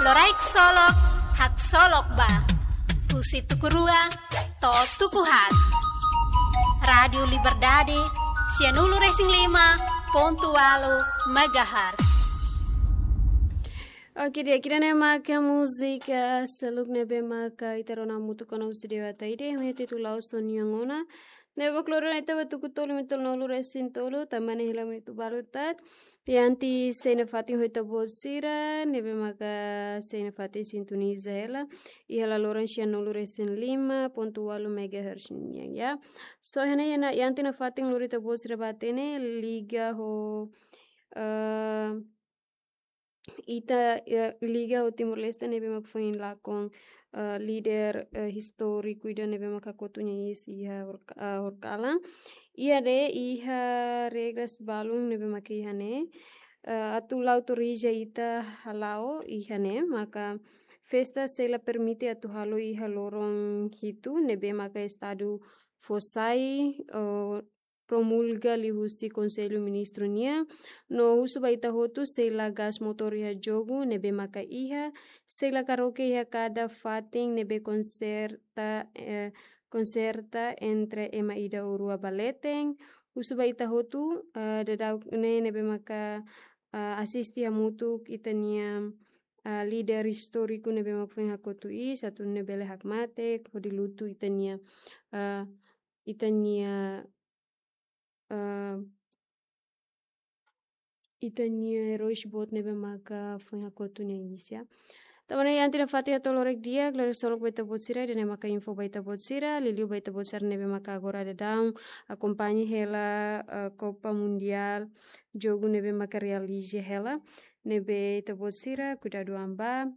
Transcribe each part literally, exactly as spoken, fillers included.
Loraik Solok, haksolok ba. Husi tuku rua to'o tuku haat. Rádiu Liberdade, sianulu-resin-lima pontu ualu megahertz. Oke, di'ak, ida-ne'e maka múzika seluk ne'ebé maka ita rona hamutuk ona husi Dewa Ataide, ho títulu La'ós Ó-nian Ona. Ne'ebé mak lori ona ita ba tuku tolu minutu tolunulu-resin-tolu, tanba ne'e hela minutu balu tat. Iha antes sei nafatin ho ita-boot sira, ne'ebé maka sei nafatin sintoniza hela iha laloran sianulu-resin-lima pontu ualu megahertz nian, ya. So, iha ne'e, iha ne'e, iha antes nafatin lori ita-boot sira ba hatene, liga ho, eh, ita, eh, liga ho Timor-Leste ne'ebé mak foin lakon, eh, líder, eh, istóriku ida ne'ebé mak hakotu nia iis iha horka-, eh, horikalan. Iha ne'e, iha regras balun ne'ebé mak iha ne'e, eh, atu la autoriza ita hala'o iha ne'e, maka festa sei la permite atu halo iha loron hitu ne'ebé maka Estadu fó sai, eh, promulga liuhusi Konsellu Ministru nian, no husu ba ita hotu sei la gas motór iha jogu ne'ebé maka iha, sei la karaoke iha kada fatin ne'ebé konserta, eh, konserta entre ema ida ou rua ba leten, husu ba ita hotu, eh, daudaun ne'e ne'ebé maka, eh, asiste hamutuk ita-nia, eh, líder istóriku ne'ebé mak foin hakotu iis, atu nune'e bele hakmatek, hodi lutu ita-nia, eh, ita-nia, eh, ita-nia eróis boot ne'ebé maka foin hakotu nia iis, ya. Tanba ne'e iha antes nafatin hato'o loraik di'ak, loraik solok ba ita-boot sira, ida-ne'e maka info ba ita-boot sira, liuliu ba ita-boot sira ne'ebé maka agora daudaun akompaña hela, eh, Copa Mundial, jogu ne'ebé maka realiza hela, ne'ebé ita-boot sira kuidadu an ba.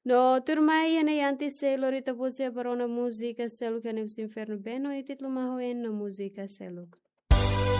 No tuirmai, iha ne'e iha antes sei lori ita-boot sira ba rona múzika seluk iha ne'e husi Inferno Beno, i títulu Maho En no múzika seluk.